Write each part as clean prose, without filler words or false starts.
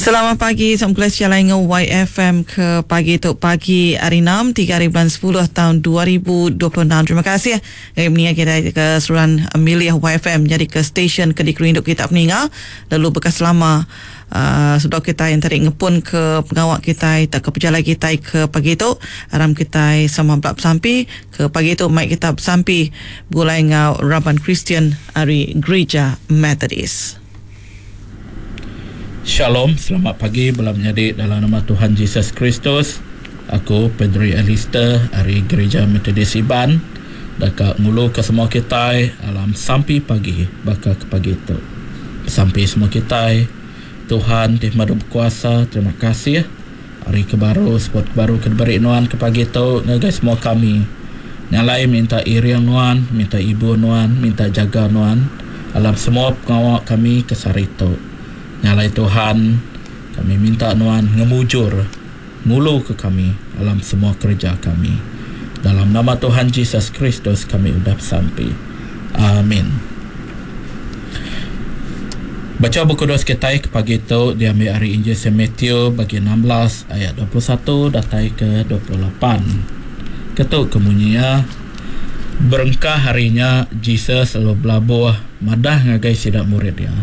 Selamat pagi sama kelas jalai ngau YFM ke pagi tu pagi hari 6 3 hari bulan 10 tahun 2026. Terima kasih ngagai meninga kita ke seruran milih YFM jadi ke stesen ke dikerindu kita peninga lalu bekas selama uh, sebedau kita yang tadi ngepun ke pengawa kita tak ke pejalai kita ke pagi tu aram kita sama belak besampi ke pagi tu mai kita besampi begulai ngau raban Kristian ari Gereja Methodist. Shalom, selamat pagi bala menyadi dalam nama Tuhan Jesus Kristus. Aku Pedri Alister ari Gereja Methodist Iban deka nguluka semua kitai alam sampi pagi baka ke pagi tu. Besampi semua kitai, Tuhan ti pemadu bekuasa, terima kasih ari ke baru seput ke baru ke diberi nuan ke pagi tu ngagai semua kami. Nya alai minta iring nuan, minta ibuh nuan, minta jaga nuan alam semua pengawa kami ke sehari tu. Nya alai Tuhan, kami minta Nuan ngemujur nguluka kami alam semua kereja kami. Dalam nama Tuhan Jesus Kristus kami udah besampi. Amin. Bacha Bup Kudus kitai ke pagi tu diambi ari Injil Saint Matthew bagi 16 ayat 21 datai ke 28. Ketu ke munyi iya, Berengkah hari nya Jesus lalu belabuh madah ngagai sida murid iya.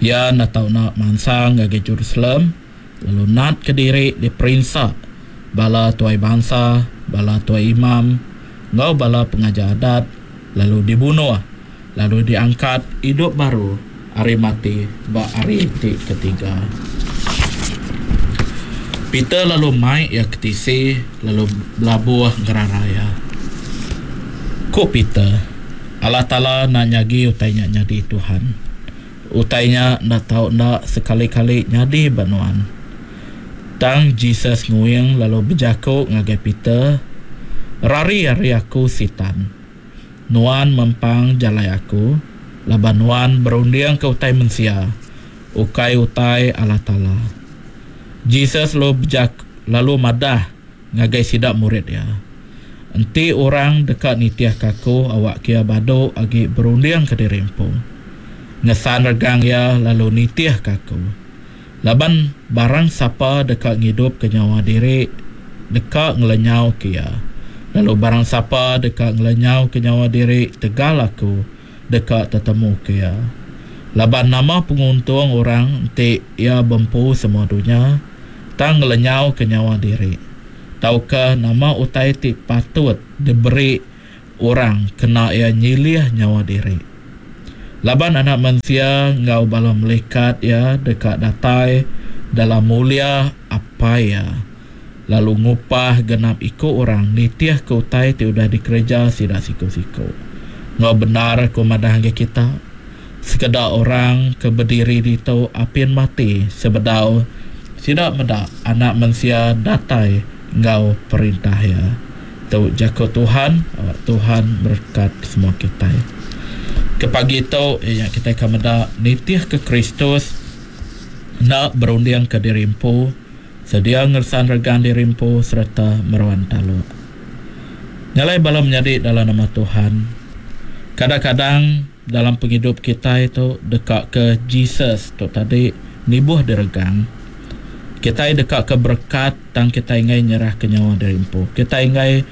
Iya enda tau enda mansang ngagai Jerusalem lalu natka diri diperinsa bala tuai bansa, bala tuai imam, enggau bala pengajar Adat, lalu dibunuh, lalu diangkat idup baru ari mati ba hari ti ketiga. Peter lalu mai iya ke tisi lalu belabuh ngerara iya. Ku Peter, Allah Taala enda nyagi utai nya nyadi Tuhan. Utai nya enda tau enda sekali-kali nyadi ba nuan. Tang Jesus nguing lalu bejaku ngagai Peter, Rari ari aku, Sitan! Nuan mempang jalai aku, laban nuan berundingka utai mensia, ukai utai Allah Taala. Jesus lalu bejaku lalu madah ngagai sida murid iya, Enti orang deka nitihka aku, awakka iya badu agi berundingka diri empu. Ngesan regang iya lalu nitihka aku. Laban barang sapa deka ngidupka nyawa diri, deka ngelenyauka iya. Lalu barang sapa deka ngelenyauka nyawa diri tegal aku, deka tetemuka iya. Laban nama penguntung orang enti iya bempu semua dunya, tang ngelenyauka nyawa diri? Tauka nama utai ti patut diberi orang kena iya nyilih nyawa diri? Laban Anak Mensia enggau bala melikat iya deka datai dalam mulia Apai iya, lalu ngupah genap iku orang nitihka utai ti udah dikereja sida siku-siku. Enggau bendar aku madah ngagai kita, Sekeda orang ke bediri ditu apin mati sebedau sida meda Anak Mensia datai enggau Perintah Iya. Tu jaku Tuhan, awak Tuhan berekat semua kitai. Ke pagi tu iya nya kitai ka meda nitihka Kristus enda berundingka diri empu, sedia ngeresan regang diri empu sereta meruan taluk. Nya alai bala menyadi dalam nama Tuhan, kadang-kadang Dalam pengidup kitai tu deka ke Jesus tu tadi nibuh diregang. Kitai deka ke berekat tang kitai enggai nyerahka nyawa diri empu. Kitai enggai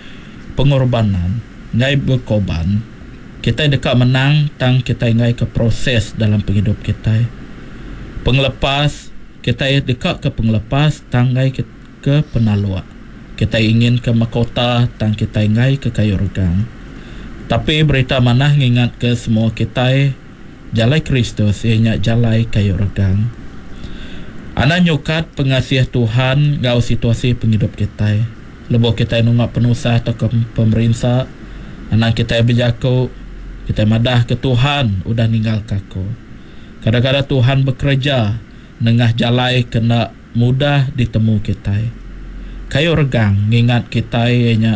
pengorbanan, enggai bekorban. Kitai deka menang tang kitai enggai ke proses dalam pengidup kitai. Pengelepas, kitai deka ke pengelepas tang enggai ke penaluk. Kitai inginka makota tang kitai enggai ke kayu regang. Tapi berita manah ngingatka semua kitai jalai Kristus iya nya jalai kayu regang. Anang nyukat pengasih Tuhan enggau situasi pengidup kitai. Lebuh kitai nunga penusah tauka pemerinsa, anang kitai bejaku, kitai madahka Tuhan udah ninggalka aku. Kadang-kadang Tuhan bekereja nengah jalai ke enda mudah ditemu kitai. Kayu regang ngingat kitai iya nya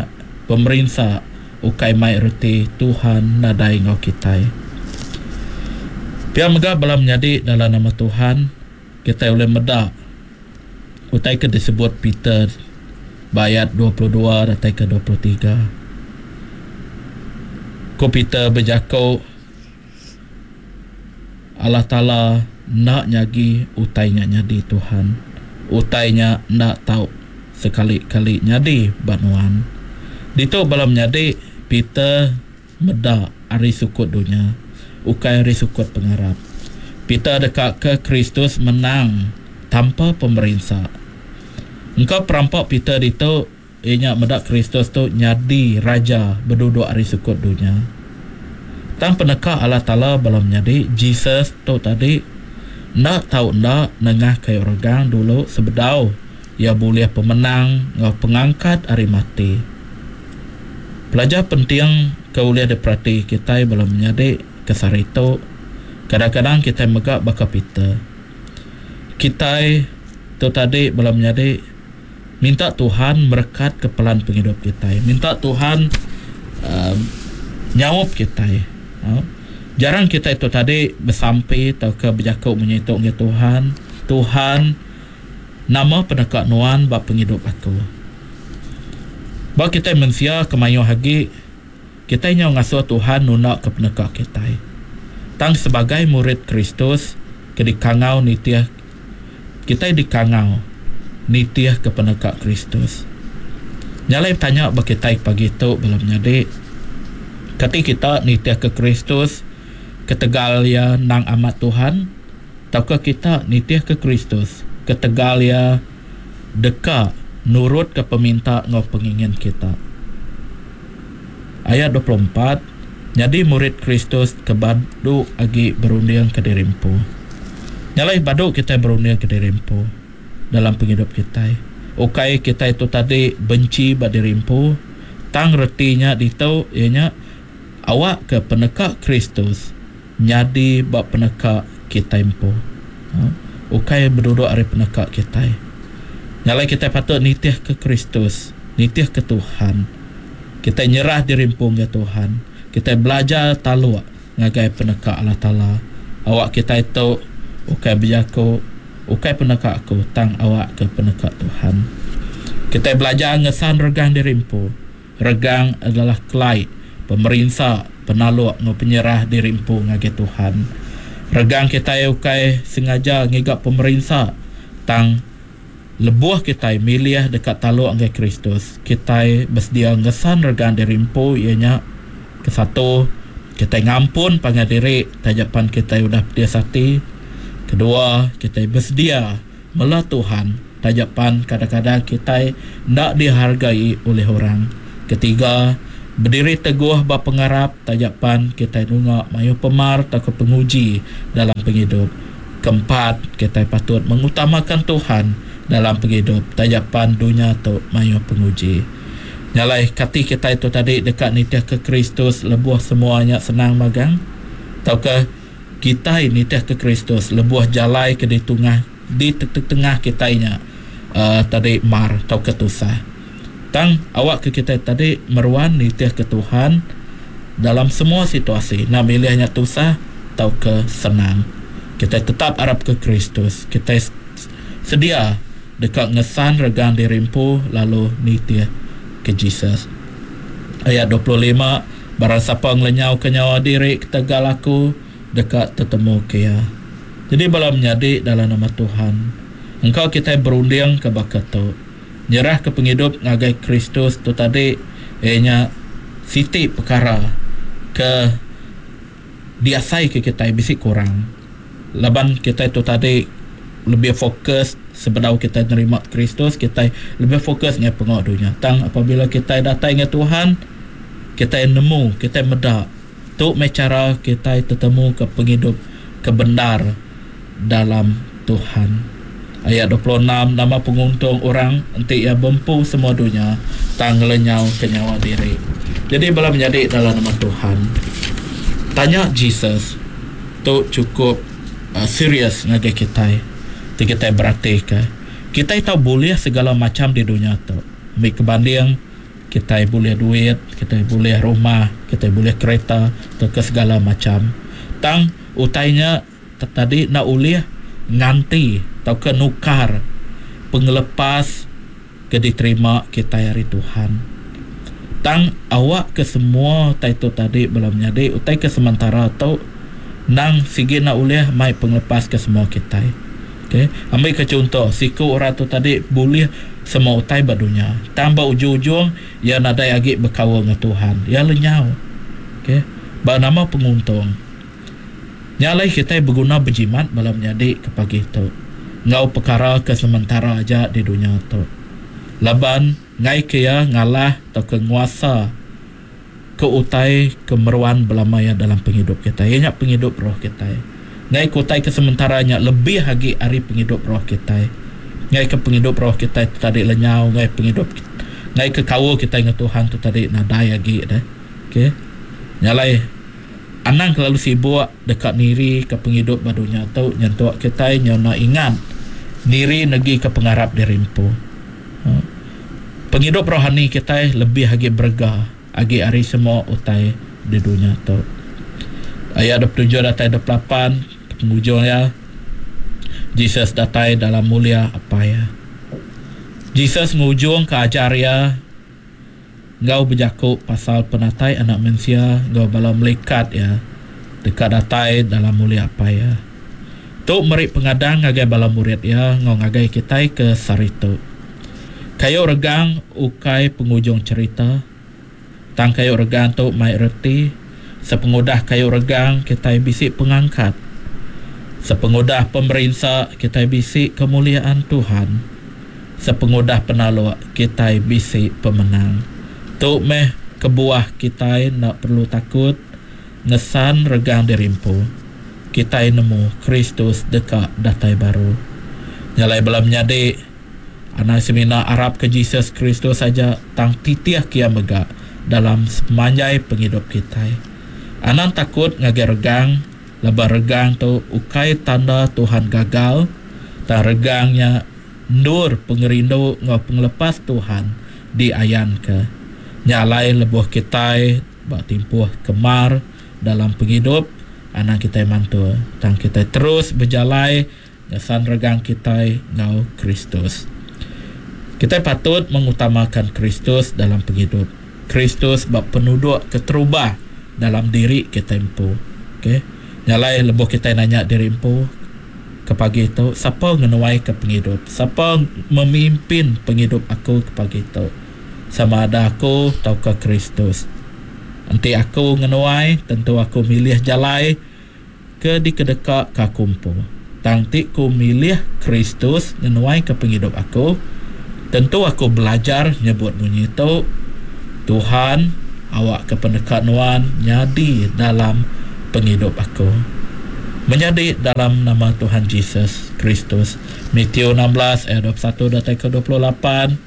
pemerinsa ukai mai reti Tuhan nadai enggau kitai. Pia mega bala menyadi dalam nama Tuhan, kitai ulih meda utai ke disebut Peter ba ayat 22 datai ke 23. Ku Peter bejaku, Allah Taala. enda nyagi utai nya nyadi Tuhan. Utai nya enda tau sekali-kali nyadi ba nuan. Ditu bala menyadi Peter meda ari sukut dunya, ukai ari sukut pengarap. Peter dekaka Kristus menang tanpa pemerinsa. Engka perampa Peter ditu iya nya meda Kristus tu nyadi raja beduduk ari sukut dunya. Tang peneka Allah Taala bala menyadi Jesus tu tadi enda tau enda nengah kayu regang dulu sebedau iya bulih pemenang enggau pengangkat ari mati. Pelajar penting ke ulih diperati kitai bala menyadi ke sehari tu, kadang-kadang kitai mega baka Peter. Kitai tu tadi bala menyadi minta Tuhan merekatka pelan pengidup kitai. Minta Tuhan uhh nyaup kitai. Jarang kitai tu tadi besampi tauka bejaku munyi tu ngagai Tuhan, Tuhan nama peneka nuan ba pengidup aku. Ba kitai mensia ke mayuh agi kitai nyau ngasuh Tuhan nunda ke peneka kitai. Tang sebagai murid Kristus ke dikangau nitih kitai dikangau nitih ke peneka Kristus. Nya alai betanya ba kitai pagi tu bala menyadi, kati kita nitih ke Kristus ketegal iya endang amat Tuhan tauka kita nitih ke Kristus ketegal iya deka nurutka peminta enggau pengingin kita? Ayat 24, Nyadi murid Kristus ke badu agi berundingka diri empu. Nya alai badu kitai berundingka diri empu dalam pengidup kitai. Ukai kitai tu tadi benchi ba diri empu, tang reti nya ditu iya nya awakka peneka Kristus nyadi ba peneka kitai empu. Ukai beduduk ari peneka kitai. Nya alai kitai patut nitihka Kristus, nitihka Tuhan. Kitai nyerah diri empu ngagai Tuhan. Kitai belajar taluk ngagai peneka Allah Taala. Awak kitai tu ukai bejaku, Ukai peneka aku, tang awakka peneka Tuhan. Kitai belajar ngesan regang diri empu. Regang adalah kelai pemerinsa, penaluk enggau penyerah diri empu ngagai Tuhan. Regang kitai ukai sengaja ngiga pemerinsa, tang Lebuh kitai milih deka taluk ngagai Kristus, kitai besedia ngesan regang diri empu iya nya, Kesatu, kitai ngampun pangan diri taja pan kitai udah pedis ati. Kedua, kitai besedia mela Tuhan taja pan kadang-kadang kitai enda dihargai ulih orang. Ketiga, bediri teguh ba pengarap taja pan kitai nunga mayuh pemar tauka penguji dalam pengidup. Keempat, kitai patut mengutamakan Tuhan dalam pengidup taja pan dunya tu mayuh penguji. Nya alai, kati kitai tu tadi deka nitihka Kristus lebuh semua nya senang magang? Tauka kitai nitihka Kristus lebuh jalai ke ditungah ditetengah kitai nya uhh tadi mar tauka tusah? Tang, awakka kitai tadi meruan nitihka Tuhan dalam semua situasi, enda milih nya tusah tauka senang. Kitai tetap arapka Kristus. Kitai sedia deka ngesan regang diri empu lalu nitihka Jesus. Ayat 25, Barang sapa ngelenyauka nyawa diri ketegal aku, deka tetemuka iya. Nyadi bala menyadi dalam nama Tuhan, engka kitai berundingka baka tu. Nyerahka pengidup ngagai Kristus tu tadi iya nya siti pekara ke diasaika kitai bisi kurang laban kitai tu tadi lebih fokus sebedau kitai nerima Kristus kitai lebih fokus ngagai pengawa dunya tang apabila kitai datai ngagai Tuhan kitai nemu kitai meda tu meh chara kitai tetemuka pengidup ke bendar dalam Tuhan. Ayat 26 nama penguntung orang enti iya bempu semua dunya tang ngelenyauka nyawa diri. Jadi bala menyadi dalam nama Tuhan. Tanya Jesus tu chukup serius ngagai kitai ti kitai beratika. Kitai tau bulih segala macham di dunya tu. Ambi ke banding kitai bulih duit, kitai bulih rumah, kitai bulih kereta tauka segala macham. Tang utai nya tadi enda ulih nganti tauka nukar pengelepas ke diterima kitai ari Tuhan. Tang awakka semua utai tu tadi bala menyadi utai ke sementara tu Nang sigi enda ulih mai pengelepas ke semua kitai. Okay. Ambi ke chunto, siku orang tu tadi bulih semua utai ba dunya. Tang ba ujung-ujung, iya nadai agi bekaul enggau Tuhan. Iya lenyau. Okay. Ba nama penguntung. Nya alai kitai beguna bejimat bala menyadi ke pagi tu enggau pekara ke sementara aja di dunya tu. Laban enggai ke iya ngalah tauka nguasa ke utai ke meruan belama iya dalam pengidup kitai, iya nya pengidup roh kitai. Enggai ke utai ke sementara nya lebih agi ari pengidup roh kitai. Enggai ke pengidup roh kitai tu tadi lenyau, enggai pengidup enggai ke kaul kitai enggau Tuhan tu tadi nadai agi deh. Okay. Nya alai anang kelalu sibuk deka niri ke pengidup ba dunya tu nyentuk kitai nyau enda ingat niri negi ke pengarap diri empu. Pengidup rohani kitai lebih agi berega agi ari semua utai di dunya tu. Ayat 27 datai 28 ke pengujung iya, Jesus datai dalam mulia Apai iya. Jesus ngujungka ajar iya enggau bejaku pasal penatai Anak Mensia enggau bala melikat iya deka datai dalam mulia Apai iya. Tu meri pengadang ngagai bala murid iya enggau ngagai kitai ke sehari tu. Kayu regang ukai pengujung cherita. Tang kayu regang tu mai reti, sepengudah kayu regang kitai bisi pengangkat. Sepengudah pemerinsa kitai bisi kemuliaan Tuhan. Sepengudah penaluk kitai bisi pemenang. Tu meh kebuah kitai enda perlu takut ngesan regang diri empu. Kitai nemu Kristus deka datai baru. Nya alai bala menyadi, anang semina arapka Jesus Kristus aja tang titihka iya mega dalam sepemanjai pengidup kitai. Anang takut ngagai regang laban regang tu ukai tanda Tuhan gagal tang regang nya endur pengerindu enggau pengelepas Tuhan diayanka. Nya alai lebuh kitai ba timpuh ke mar dalam pengidup, anang kitai mantul, tang kitai terus bejalai ngesan regang kitai enggau Kristus. Kitai patut mengutamakan Kristus dalam pengidup. Kristus ba penuduk keterubah dalam diri kitai empu. Okay. Nya alai lebuh kitai nanya diri empu ke pagi tu, sapa ngenuaika pengidup? Sapa memimpin pengidup aku ke pagi tu? Sama ada aku tauka Kristus? Enti aku ngenuai, tentu aku milih jalai ke dikedeka ke aku empu. Tang enti ku milih Kristus ngenuaika pengidup aku, tentu aku belajar nyebut munyi tu, Tuhan, awakka peneka Nuan nyadi dalam pengidup aku. Menyadi dalam nama Tuhan Jesus Kristus. Matthew 16 ayat 21 datai ke 28,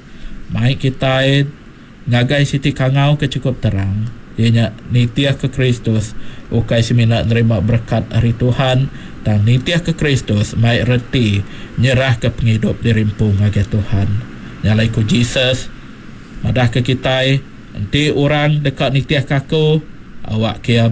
mai kitai Ngagai siti kangau ke chukup terang, iya nya nitihka Kristus ukai semina nerima berekat ari Tuhan, tang nitihka Kristus mai reti nyerahka pengidup diri empu ngagai Tuhan. Nya alai ku Jesus madahka kitai, Enti orang deka nitihka aku, awakka iya.